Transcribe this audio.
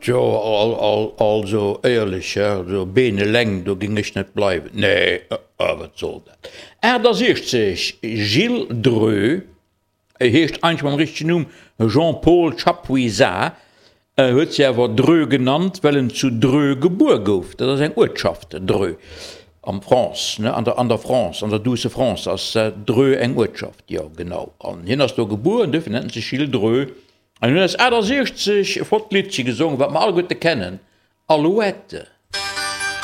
Tjo, also éierlech, also Been eleng, do géing ech net bleiwen. Nee, wat soll dat? 68, Gilles Dreux, e heescht eigentlech mam richtegen Numm Jean-Paul Chapuisat, huet sech awer Dreux genannt, well en zu Dreux gebuer gouf. Dat ass eng Uertschaft, Dreux, am France, ne, an der, an der France, an der douce France ass Dreux eng Uertschaft, jo genau. An hien ass do gebuer an duerfir nennt en sech Gilles Dreux. An hunn eis 68 e flott Liddche gesongen, wat mer alleguerte kennen, Alouette.